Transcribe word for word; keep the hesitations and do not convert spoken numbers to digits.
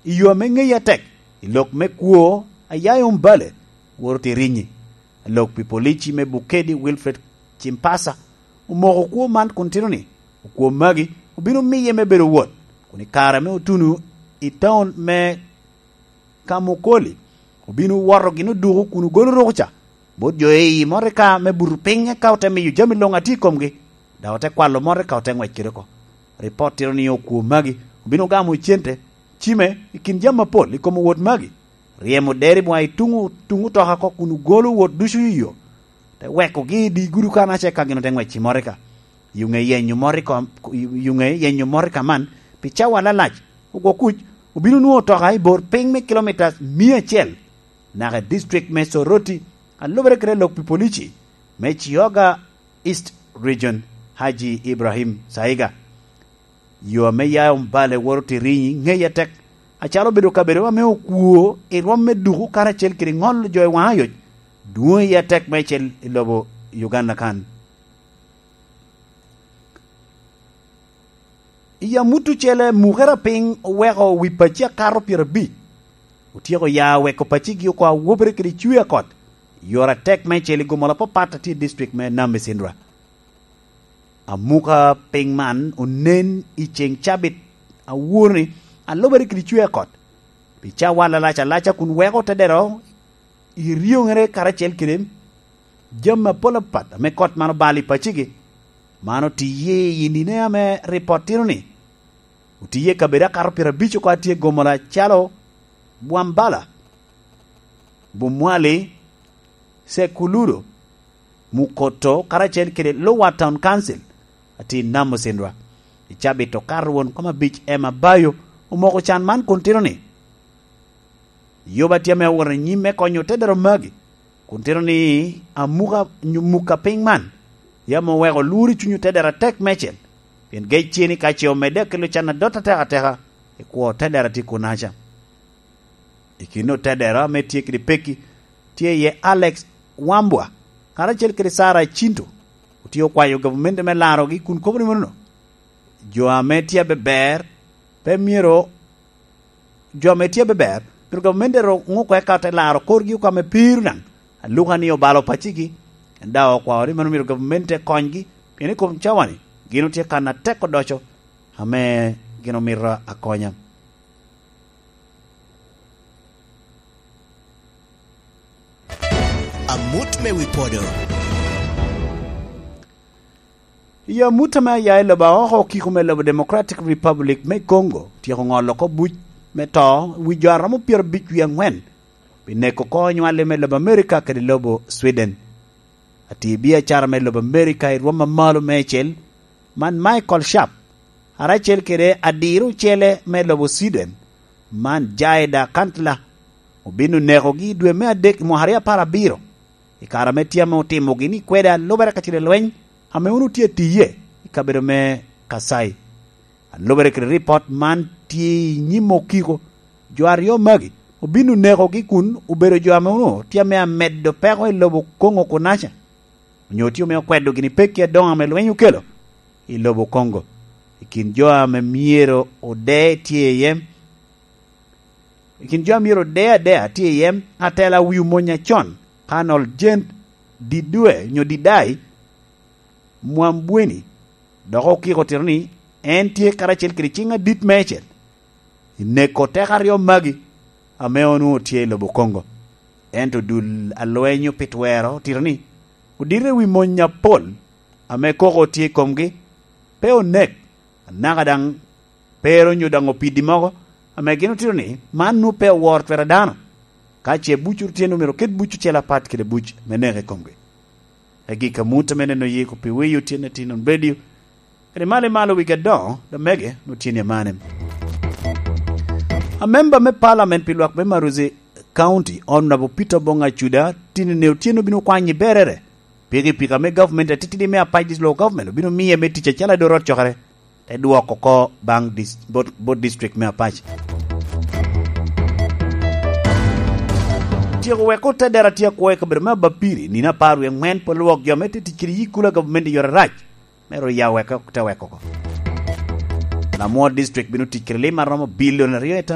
I yo ame ŋeye atek, i lok me kwo, Ayayo Mbale, woro Tirinyi, alok pi polici me Bukedi Wilfred Chimpasa, omoko kwo man kun tito ni, okwo magi obino miye me bedo wot, kun i kare ame otuno i taun me Kamukoli, obino woto gin oduko kun ogolo rukuca bot jo i motoka me buto piny, eka ote miyo jami luŋ atye i komgi, dok ote kwalo motoka ote ŋwec kede oko. Ripot tito ni okwo magi obino gamo cente, cime i kin jami apol i kom owot magi, ryemo deri bwa i tuŋ, tuŋ otoka oko kun ogolo owot ducu i yo, te wekogi i di gudu kanaca, eka gin ote ŋwec i motoka. I ŋe yenyo motoka, i ŋe yenyo motoka man pi cawa alalac, ogwo kuc obino nwoŋo otoka i bor piny me kilomitas mia acel naka i district me Soroti, a lubere kede lok pi polici me Chiyoga East Region, Haji Ibrahim Saiga. Yo ame ya Mbale woro Tirinyi ŋeye atek, acalo obedo kabedo ame okwo i rwom me duku karacel kede ŋolo jo i waŋ ayoc, dwoŋ iye atek meicel i lobo Uganda kan. I amut ocele, mukere apiny oweko wi paci akato pyerabic. Otyeko ya oweko pacigi oko awobere kede cwi akot, yore atek meicel i gomola apapat a tye i district me Nam Micindwa. Amuka piny man onen i ceŋ cabit awor-ni, alubere kede cwer akot, pi cawa alalac alaca kun weko te dero i ryoŋere karacel kede jami apol apat ame kot man obalo i pacigi. Man otiye i nine ame ripot tito ni, otiye i kabedo akato pyerabic oko a tye gomola calo Bwambala, Bumwali, Sekuludo, Mukoto, karacel kede Lower Town Council, atye i Nam Ocindwa. I cabit okato won kom abic Emma Bayo omoko can man kun tito ni, "Yoba tye ame owot i nyim me konyo otedero magi, kun tito ni amuka nyo muka piny man, yam oweko lworo i cuny otedero atek meicel, pien gec tye ni ka ce omedde akelo can adot atek ateka, i kwo otedero atye kunaca." I kin otedero ame tye kede pekki, tye iye Alex Wambwa, karacel kede Sarah Cinto, otye okwayo gavumenti me larogi kun kobo ni manono, jo ame tye abeber pe myero, jo ame tye abeber, myero gavumenti ero ŋuko eka te laro korgi oko ame piro daŋ, aluka ni obalo pacigi, en daŋ okwao ni mano myero gavumenti te konygi, pien i kom cawa-ni gin otye kan atek odoco ame gin omito akonya. Amut me wi podo. I amut ame aya i lobo aoko okiko me lobo Democratic Republic me Congo tyeko ŋolo oko buc me to wi jo a romo pyerabic wie aŋwen pi neko oko onywalli me lobo Amerika kede lobo Sweden. Atir biacara me lobo Amerika i rwom a malo meicel, man Michael Sharp, karacel kede adiro ocele me lobo Sweden, man Jaida Cantla, obino nekogi i dwe me adek i mwaka aryo apar abiro. I kare ame tye ame otimogi ni kwede alubere ka ciro lweny ame wun otye atiye i kabedo me Kasai. Alubere kede ripot man tye i nyim okiko, jo aryo magi obino nekogi kun obedo jo ame onwoŋo tye ame amedo peko i lobo Kongo kunaca, onyo tye ame okwedo gini pekki adoŋo ame lweny okelo i lobo Kongo. I kin jo ame myero ode tye iye, i kin jo a myero ode adea tye iye atela wi omony acon, Colonel Jane Didue nyo Didai Mwambweni, dok okiko tito ni en tye karacel kede ciŋ adit meicel i neko teko aryo magi ame onwoŋo tye i lobo Kongo. Ento dul a lweny pi twero otito ni odito i wi mony apol ame koko tye i komgi, pe onek, anaka daŋ pe ero nyo daŋ opidi mogo ame gin otito ni man nwoŋo pe oworo twero a dano. Ka ce buc otye, omyero oket buc ocel apat kede buc me neko i komgi. Agik amut ame neno yiko pi wiyo tyen a Tinon Radio, kede malo i malo wigi adoŋo, da mege, nwoŋo tyen i amane. Amemba me Parliament pi lwak me Maruzi County, Honorable Peter Obong Acuda, tinine otyeno obino kwanyo i berere pikipiki ame government atitidi me Apac District Local Government obino miye me tic acalo adot rot cokere, te dwoko oko baŋ dis-, bot, bot district me Apac. Tyeko weko te dera tye akwo i kabedo me Abapiri, nino apar wie aŋwen pol lwok jo me te tic kede yikula government i yore arac, me ru ya weko te weko oko. Lamwo district bino tic kede lim a romo bilion aryo i